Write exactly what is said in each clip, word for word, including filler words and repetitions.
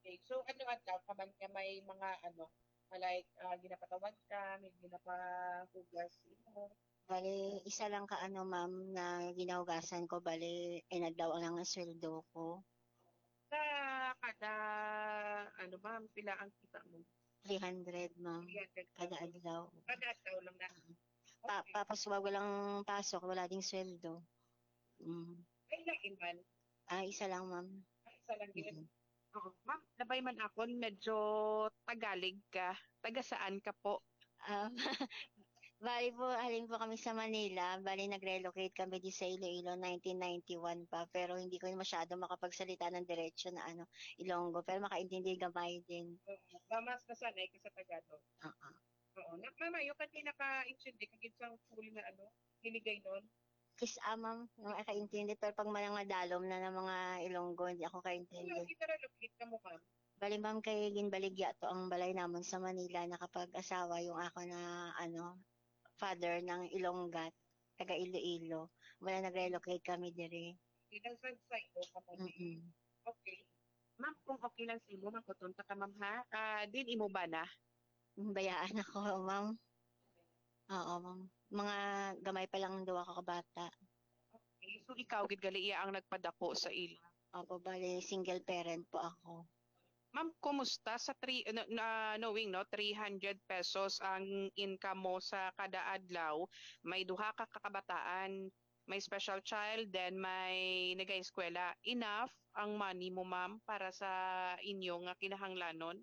Okay, so ano adlaw ka man nga may mga ano, like, ah, ginapatawag ka, may ginapahugas imo? Bali, isa lang ka ano, ma'am, na ginahugasan ko, bali, inadlaw lang ang sweldo ko. Sa kada, ano ma'am, pila ang kita mo? Three hundred, ma'am, three hundred kada adlaw. Kada adlaw lang na. Pa, Okay. Tapos wag walang pasok, wala ding sweldo. Mm. Ay, lain man. Ah, isa lang, ma'am. Ay, isa lang yun. Mm. Oo. Ma'am, labay man akon, medyo Tagalig ka. Taga saan ka po? Ah, bali po, halin po kami sa Manila. Bali, nag-relocate kami di sa Iloilo nineteen ninety-one pa. Pero hindi ko masyado makapagsalita ng diretso na ano, Ilonggo. Pero makaintindi gamay din. Oo. Ba, mas nasanay ka sa Tagalog? Oo. Oo. Na, mamayo ka, di nakaintindi ka gid sa full nga ano, Hiligaynon? Kis-a, ma'am, nga makaintindi. Pero pag mga dalom na ng mga Ilonggo, hindi ako Ano, kaintindi. kita ra lupit ka mo, ma'am. Bali, ma'am, kay ginbaligya to ang balay namon sa Manila. Nakapag-asawa yung ako na, ano, father ng Ilonggat, taga Iloilo. Wala, nag-relocate kami diri. Di lang sa sa'yo ka mo. Mm-mm. Okay. Ma'am, kung okay lang sa imo, makutonta ka, ma'am, ha? Ah, din imo ba na? Bayaan ako, ma'am. Oo, ma'am. Mga gamay pa lang ang duwa ka kabata. Okay. So, ikaw gid gali iya ang nagpadako sa ila. Opo, bali, single parent po ako. Ma'am, kumusta sa three, na, na- knowing, no, three hundred pesos ang income mo sa kada adlaw, may duha ka kakabataan, may special child, then may nag-eskwela. Enough ang money mo, ma'am, para sa inyo nga kinahanglanon?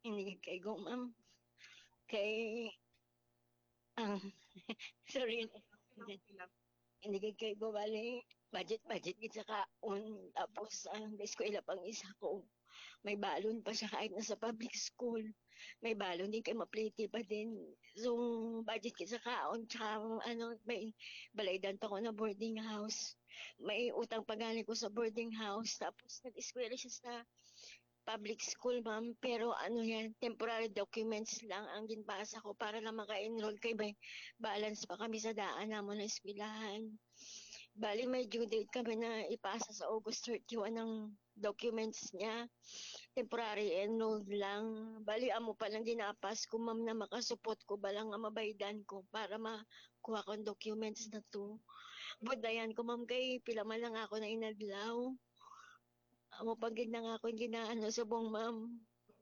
Hindi kay go, ma'am. Kay, ang, sorry. Hindi kay kay go, bali, budget, budget gid sa kaon. Tapos, ang eskwela pang isa ko. May balon pa siya kahit nasa public school. May balon din kay mapliti pa din. So, budget gid sa kaon. Tsaka, ano, may balaydan pa ko na boarding house. May utang pa gani ko sa boarding house. Tapos, nag-eskwela siya sa public school, ma'am. Pero ano yan, temporary documents lang ang ginpasa ko para lang maka-enroll kay may balance pa kami sa daan namon na eskwelahan. Bali, may due date kami na ipasa sa August thirty-one ang documents niya. Temporary enrolled lang. Bali, amo pa lang ginapas ko, ma'am, na makasupot ko ba lang nga mabaydan ko para makuha ko ang documents na to. Budayan ko, ma'am, kay pila man lang ako na inadlaw. Amo pa gid na nga akong ginaano subong, ma'am.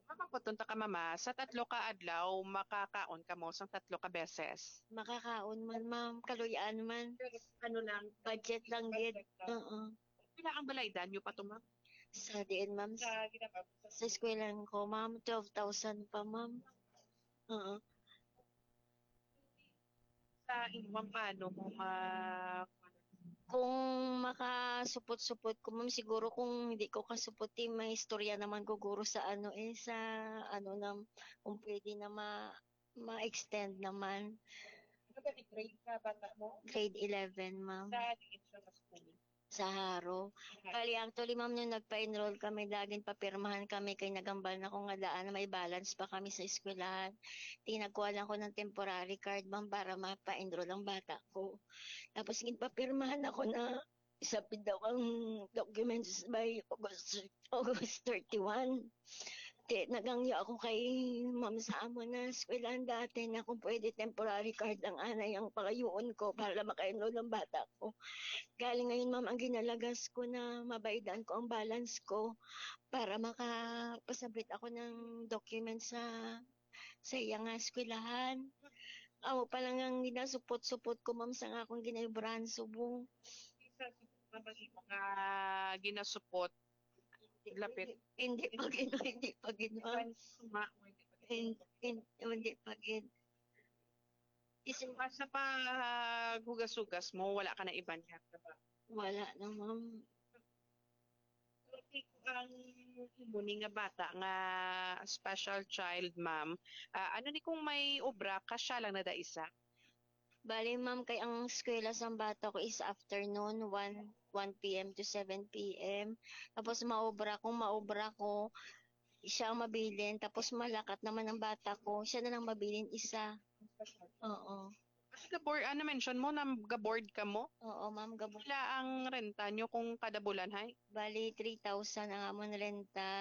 Mapapunta ka, mama, sa tatlo ka adlaw, makakaon ka mo sang tatlo ka beses. Makakaon man, ma'am. Kaluy-an man. Pero ano lang, Budget lang gid. budget lang. Oo. Pila ang balaydan nyo pa to, ma'am? Sa diin, ma'am? Sa ginapabot Sa eskwelahan ko, ma'am, twelve thousand pa, ma'am. Oo. Sa inyo, ma'am, paano mo ma... Kung makasupot-supot ko, ma'am, siguro kung hindi ko kasupot, eh, may istorya naman ko, guro, sa ano, eh, sa ano na, kung pwede na ma-, ma-extend naman. Ano ba ni grade ka, bata mo? Grade eleven, ma'am. Sa diin siya sa school? Sa Jaro. Aha. Bali, actually, ma'am, nung nagpa-enroll kami, laging papirmahan kami kay nagambal na ko nga daan na may balance pa kami sa eskwelahan. Tinagkuha lang ko ng temporary card, ma'am, para mapa-enroll ang bata ko. Tapos, ginpapirmahan ako na isapid daw ang documents by August, August thirty-one. Ti, nagangyo ako kay ma'am sa amo na eskwelahan dati na kung pwede temporary card lang anay ang pangayuon ko para lang maka-enroll ang bata ko. Galing ngayon, ma'am, ang ginalagas ko na mabaydan ko ang balance ko para makapasabit ako ng documents sa, sa iya nga eskwelahan. Amo pa lang ang ginasupot-supot ko, ma'am, sa nga akong ginayubrahan subong. Sa mga mga ginasupot, lapit. Hindi pa gid, hindi pa gid, ma'am. Suma, o hindi pa gid. Hin-, hin-, hindi pa gid. Is-, Sa paghugas-hugas mo, wala ka na iban nga trabaho? Wala na, ma'am. Pero kung ang imo ni nga bata nga special child, ma'am, ah, ano ni kung may obra ka, siya lang na da isa? Bali, ma'am, kay ang eskwela sa bata ko is afternoon, one, one p m to seven p m. Tapos maobra, kung maobra ko, siya ang mabilin. Tapos malakat naman ang bata ko, siya na lang mabilin isa. Oo. Kasi gabor, ano mention mo, na gaboard ka mo? Oo, ma'am, gabo. Wala ang renta nyo kung kada bulan, hay? Bali, three thousand ang amon renta.